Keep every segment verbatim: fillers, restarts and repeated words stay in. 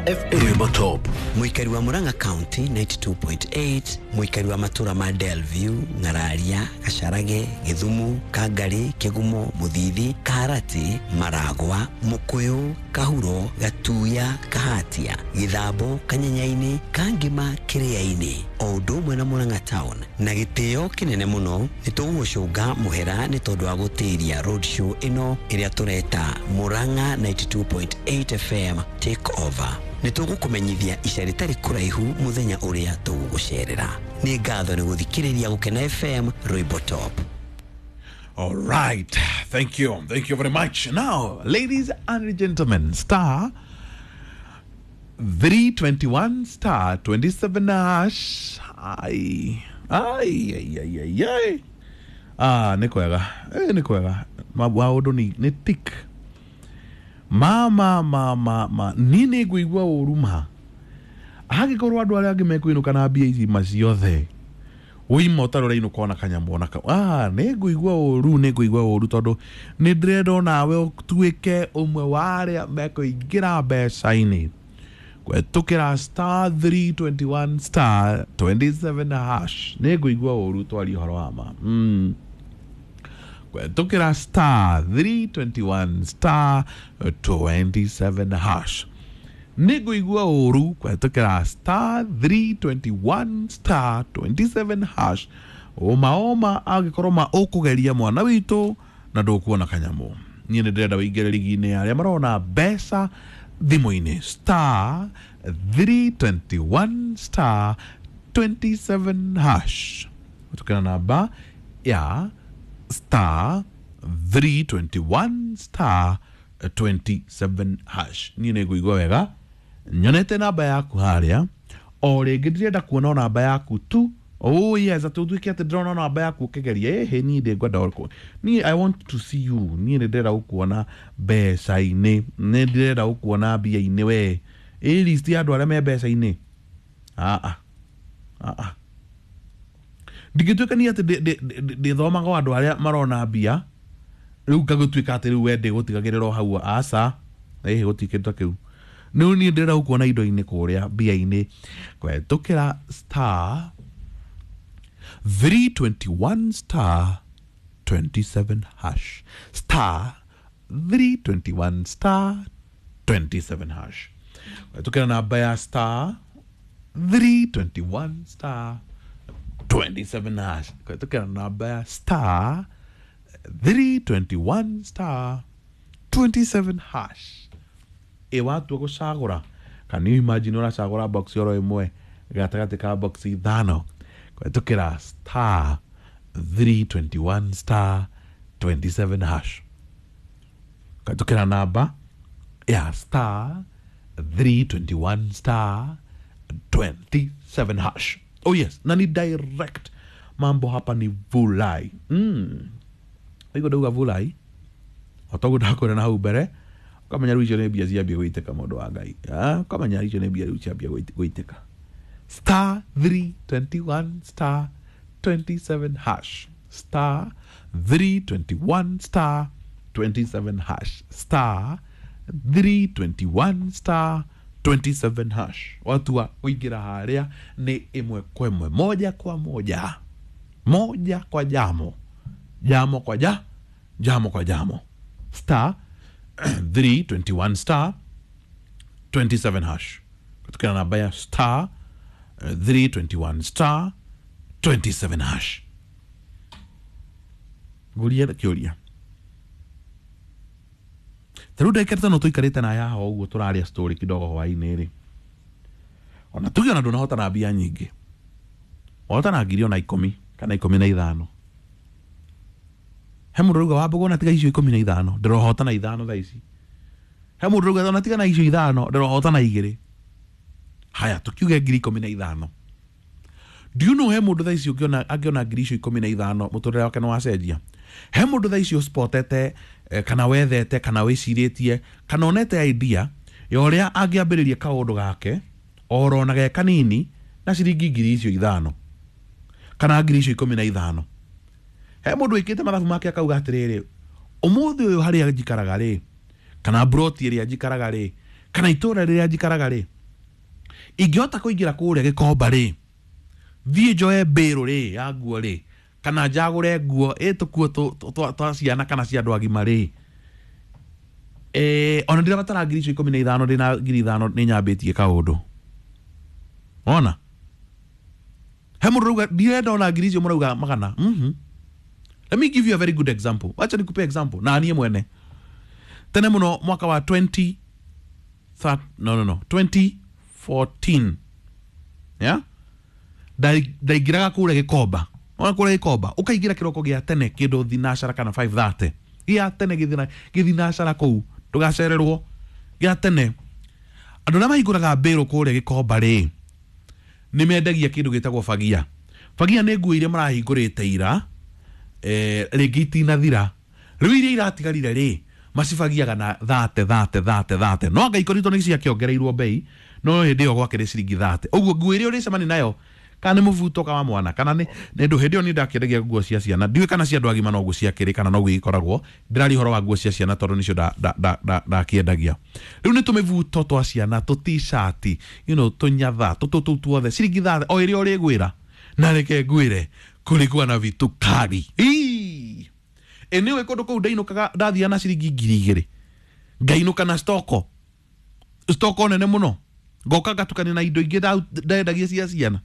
Murang'a F M. Rwimbo Top. Muikari wa Murang'a County ninety-two point eight, muikari wa matura ma Delview, Ng'araria, Gacharage, Githumu, Kangari, Kigumo, Muthithi, Kaharati, Maragwa, Mukuyu, Kahuro, Gatuya, Kahatia, Githambo, Kanyenyaini, Kangima, Kiriaini, o ũndũ ũmwe na Murang'a Town. Na gĩtĩo kĩnene mũno nĩ tũgũgũcũnga mũhera nĩ tondũ wa gũtĩria road show ĩno ĩrĩa tũreta Murang'a ninety-two point eight F M Take Over. Nĩ tũgũkũmenyithia ica rĩtarĩ kũraihu mũthenya ũrĩa tũgũgũcerera. Nĩ ngatho nĩ gũthikĩrĩria Gũkena F M Rwimbo Top. All right, thank you, thank you very much. Now, ladies and gentlemen, star three twenty-one star twenty-seven hash. Ai, ai, ai, ai, ai, ai. Ah, nĩ kwega, eh, nĩ kwega. Maũndũ nĩ, nĩ tick. Ma, ma, ma, ma, ma. Niĩ nĩ ngũigua ũru ma. Angĩkorwo andũ arĩa angĩ mekũinũka na mbia ici ma ciothe, ũima ũtarĩ ũrainũka ona kanyamũ ona ka-, ah, nĩ ngũigua ũru, nĩ ngũigua ũru tondũ nĩ ndĩrenda onawe ũtuĩke ũmwe wa arĩa mekũingĩra mbeca-inĩ. Kũhetũkĩra star three twenty-one star twenty-seven hash. Nĩ ngũigua ũru twarie ũhoro wa ma. Mm. Kũhetũkĩra star three twenty-one star twenty-seven hash. Nĩ ngũigua ũru kũhetũkĩra star three twenty-one star twenty-seven hash. Ũma ũma angĩkorwo ma ũkũgeria mwana witũ na ndũkuona kanyamũ. Niĩ nĩ ndĩrenda ũingĩre rigi-inĩ ya arĩa marona mbeca thimũ-inĩ. Star three twenty-one star twenty-seven hash. Kũhetũkĩra namba ya star three twenty-one star twenty-seven hash. Niĩ nĩ ngũigua wega nyonete namba yaku harĩa. O rĩngĩ ndĩrenda kuona o namba yaku tu. Oh yes, atĩ ũtuĩke atĩ ndĩrona namba yaku ũkĩgeria. Ĩhĩ, niĩ ndĩngwenda ũkũ. Niĩ I want to see you. Niĩ nĩ ndĩrenda gũkuona mbeca-inĩ. Nĩ ndĩrenda gũkuona mbia-inĩ we. Ĩ list ya andũ arĩa me mbeca-inĩ. Ah, ah. Ah, ah. Ndingĩtuĩka niĩ atĩ ndĩ-, ndĩ-, ndĩ-, ndĩthomaga o andũ arĩa marona mbia. Rĩu ngagũtuĩka atĩ rĩu we ndĩgũtigagĩrĩra o hau. Aca. Ĩhĩ, gũtirĩ kĩndũ ta kĩu. Rĩu niĩ ndĩrenda gũkuona indo-inĩ kũrĩa mbia-inĩ. Kũhetũkĩra star three twenty-one star twenty-seven hash. Star three twenty-one star twenty-seven hash. Kũhetũkĩra namba ya star three twenty-one star twenty-seven hash. Kũhetũkĩra namba ya star three twenty-one star twenty-seven hash. Ĩ watua gũcagũra. Can you imagine ũracagũra box oro ĩmwe gatagatĩ ka box ithano? Kũhetũkĩra star three twenty-one star twenty-seven hash. Kũhetũkĩra namba ya star three twenty-one star twenty-seven hash. Oh yes, na ni direct. Mambo hapa ni vulai. Mm. Waigua ndauga vulai? O toguo ndakwĩra na hau mbere, ũkamenya rĩu icio nĩ mbia ciambia gũitĩka mũndũ wa Ngai. Ah, ũkamenya icio nĩ mbia rĩu ciambia gũit-, gũitĩka. Star three twenty-one star twenty-seven hash. Star three twenty-one star twenty-seven hash. Star three twenty-one star twenty-seven hash. Watu wa kũingĩra harĩa nĩ ĩmwe kwa ĩmwe, moja kwa moja, moja kwa jamo, jamo kwa ja, jamo kwa jamo. Star three twenty-one star twenty-seven hash. Kutokana na namba ya star three twenty-one star twenty-seven hash. Nguria kĩũria. Ta rĩu ndagĩka ĩtano tũikarĩte na haha ũguo tũraria story kidogo hwaĩ-inĩ rĩ. Ona tuge ona ndũnahota na mbia nyingĩ. Wahota na ngiri ona ikũmi kana ikũmi na ithano. He mũndũ ũrauga wambũgwo na tiga icio ikũmi na ithano, ndĩrohota na ithano thaa ici. He mũndũ ũrauga ona tiga na icio ithano, ndĩrohota na igĩrĩ. Haya, tukiuge ngiri ikũmi na ithano. Do you know he mũndũ thaa ici ũngĩona, angĩona ngiri icio ikũmi na ithano, mũtũrĩre wake nĩwacenjia? He mũndũ thaa ici ũspotete, eh, kana wethete, kana wĩcirĩtie, kana onete idea ya ũrĩa angĩambĩrĩria kaũndũ gake, oro na ge kanini, na ciringi ngiri icio ithano, kana ngiri icio ikũmi na ithano. He mũndũ wĩkĩte mathabu make akauga atĩrĩrĩ, ũmũthĩ ũyũ harĩa njikaraga rĩ, kana mburoti ĩrĩa njikaraga rĩ, Kana itũra rĩrĩa njikaraga rĩ, ingĩhota kũingĩra kũrĩa Gĩkomba rĩ, thiĩ njoe mbĩrũ rĩ ya nguo rĩ, kana njagũre nguo ĩ tũkuo twa ciana kana cia andũ agima rĩ, eh, ona ndirabatara ngiri icio ikũmi na ithano, ndĩna ngiri ithano nĩ nyambĩtie kaũndũ. Ona he mũndũ ũrauga ndirenda ona ngiri icio, mũrauga magana. mm-hmm. Let me give you a very good example. Wacha nikupe example na niĩ mwene. Tene mũno mwaka wa twenty thir, no no no twenty fourteen, yeah, ndaingĩraga kũrĩa Gĩkomba. Ona kũrĩa Gĩkomba ũkaingĩra kĩroko gĩa tene kĩndũ thinacara kana five thirty gĩa tene, gĩthinacara kũu ndũgacererwo gĩa tene. Andũ arĩa mahingũraga mbĩrũ kũrĩa Gĩkomba rĩ, nĩ mendagia kĩndũ gĩtagwo fagia. Fagia nĩ nguo iria marahingũrĩte ira, eh, rĩngĩ itinathira, rĩu iria iratigarire rĩ, macibagiaga na thate thate thate thate. No anga ikoritwo nĩ ciakĩongereirwo bei, no hĩndĩ ĩyo gwakĩrĩ ciringi thate. Ũguo nguo ĩrĩa ũrĩcemania nayo, kana nĩ mũbuto wa mwana, kana nĩ ndũ, hĩndĩ ĩyo niĩ ndakĩendagia nguo cia ciana, ndiũĩ kana cia andũ agima noguo ciakĩrĩ kana noguo ikoragwo. Ndĩraria ũhoro wa nguo cia ciana tondũ nĩcio ndakĩendagia. Rĩu nĩ tũmĩbuto twa ciana, tũ t-shirt, you know, tũnyatha, tũtũ tũu tuothe ciringi thate o ĩrĩa ũrĩgwĩra. Na reke ngwĩre, kulikuwa na vitu kali. Ĩ nĩũĩ kũndũ kũu ndainũkaga ndathiaga na ciringi ngiri igĩrĩ, ngainũka na stoko stoko nene mũno, ngoka ngatukania na indo ingĩ ndendagia cia ciana.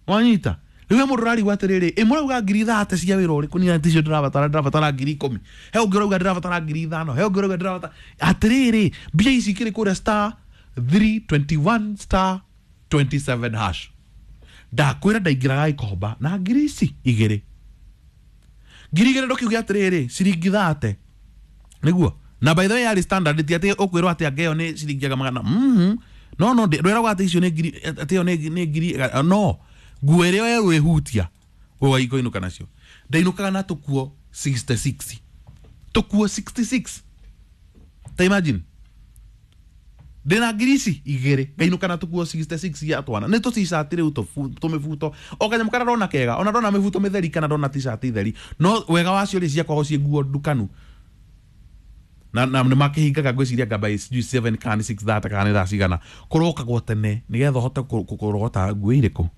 Wanyita? Rĩu mũndũ ũrarigwo atĩrĩrĩ, ĩ mũrauga ngiri thate cia wĩra ũrĩkũ? Niĩ ticio ndĩrabatara, ndĩrabatara ngiri ikũmi. He ũngĩ ũrauga ndĩrabatara ngiri ithano, he ũngĩ ũrauga ndĩrabatara. Atĩrĩrĩ, mbia ici ikĩrĩ kũrĩa star three twenty one star twenty seven hash. Ndakwĩra ndaingĩraga Gĩkomba na ngiri ici igĩrĩ. Ngiri igĩrĩ ndũkiuge atĩrĩrĩ, ciringi thate nĩguo. Na by the way yarĩ standard, ti atĩ ũkwĩrwo atĩ anga ĩyo nĩ ciringi magana. Mhm. No no ndwĩragwo atĩ icio nĩ ngiri, atĩ ĩyo nĩ ngiri, no nguo ĩrĩa werũ ĩhutia ũgaikũinũka nacio. Ndainũkaga na tũkuo sixty six. Tũkuo sixty six. Ta imagine. Ndĩna ngiri ici igĩrĩ ngainũka na tũkuo sixty six ya twana. Nĩ tũ t-shirt rĩu tũmĩbuto. O kanyamũ karĩa ndona kega, ona ndona mĩbuto mĩtheri kana ndona t-shirt theri. No wega wacio rĩ, ciakoragwo ciĩ nguo ndukanu. Na na nĩ makĩhingaga ngwĩciria ngamba sijui seven kana six thirty kana nĩ thaa cigana. Kũrokagwo tene nĩgetha ũhote kũrogota nguo irĩkũ.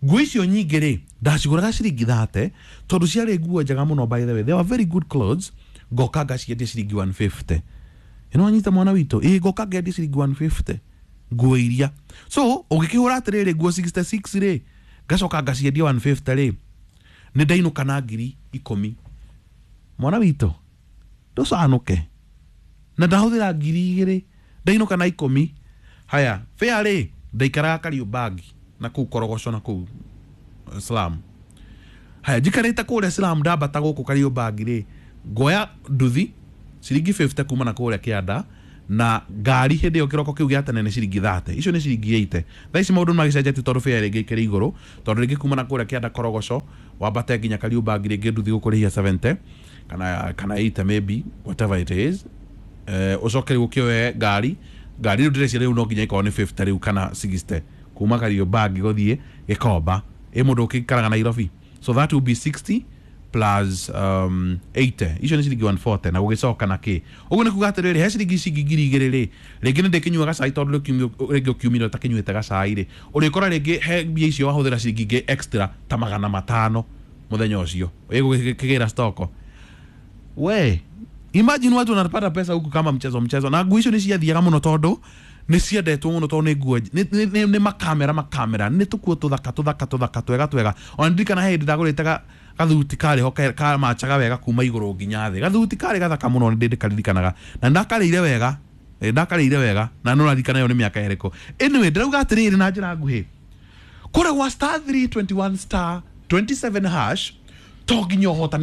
Nguo icio nyingĩ rĩ, ndacigũraga ciringi thate tondũ ciarĩ nguo njega mũno. By the way, they were very good clothes. Ngoka ngaciendia ciringi one fifty. Ĩno wanyita mwana witũ, ĩ ngoka ngendia ciringi one fifty nguo iria. So ũngĩkĩhũra atĩrĩrĩ nguo sixty six rĩ, ngacoka ngaciendia one fifty rĩ, nĩ ndainũka na ngiri ikũmi. Mwana witũ ndũcanũke. Na ndahũthĩra ngiri igĩrĩ ndainũka na ikũmi. Haya, fare rĩ, ndaikaraga Kariũmbangi na kũu Korogoco na kũu Slum. Haya, njikarĩte kũrĩa Slum ndambata gũkũ Kariũmbangi rĩ, ngoya nduthi ciringi fifty kuma na kũrĩa kĩanda, na ngari hĩndĩ ĩyo kĩroko kĩu gĩa tene nĩ ciringi thate. Icio nĩ ciringi eighty. Thaa ici maũndũ nĩmagĩcenjetie tondũ fare rĩngĩ ĩkĩrĩ igũrũ, tondũ rĩngĩ kuma na kũrĩa kĩanda Korogoco wambate nginya Kariũmbangi rĩngĩ nduthi gũkũrĩhia seventy kana kana eighty maybe, whatever it is. Eh, ũcoke rĩu ũkĩoe ngari, ngari rĩu ndĩreciria rĩu no nginya ĩkorwo nĩ fifty rĩu kana sixty kuma Kariũmbangi gũthiĩ Gĩkomba. Ĩ mũndũ ũkĩikaraga Nairobi, so that will be sixty plus um, eighty. Icio nĩ ciringi one forty. Na gũgĩcoka na kĩ ũguo nĩ kuga atĩrĩrĩ, he ciringi ici ngiri igĩrĩ rĩ, rĩngĩ nĩ ndĩkĩnyua gacai tondũ rĩngĩ ũkiumire ũtakĩnyuĩte gacai rĩ, ũrĩkora rĩngĩ he mbia icio wahũthĩra ciringi ingĩ extra ta magana matano mũthenya ũcio ĩgũkĩgĩra stoko. We imagine watu wanapata pesa huku kama mchezo mchezo. Na nguo icio nĩ ciathiaga mũno tondũ nĩ ciendetwo mũno, tondũ nĩ nguo nĩ makamera makamera, nĩ tũkuo tũthaka tũthaka tũthaka twega twega. Ona ndirikana he hĩndĩ ndagũrĩte gathuti karĩ ho kamachaga wega kuma igũrũ nginya thĩ. Gathuti karĩ gathaka mũno, nĩ ndĩkaririkanaga na ndakarĩire wega, ndakarĩire wega na no raririkana ĩyo nĩ mĩaka ĩrĩkũ. Anyway, ndĩrauga atĩrĩrĩ na njĩra nguhĩ, kũrĩa gwa star three twenty one star twenty seven hash to nginya ũhotane.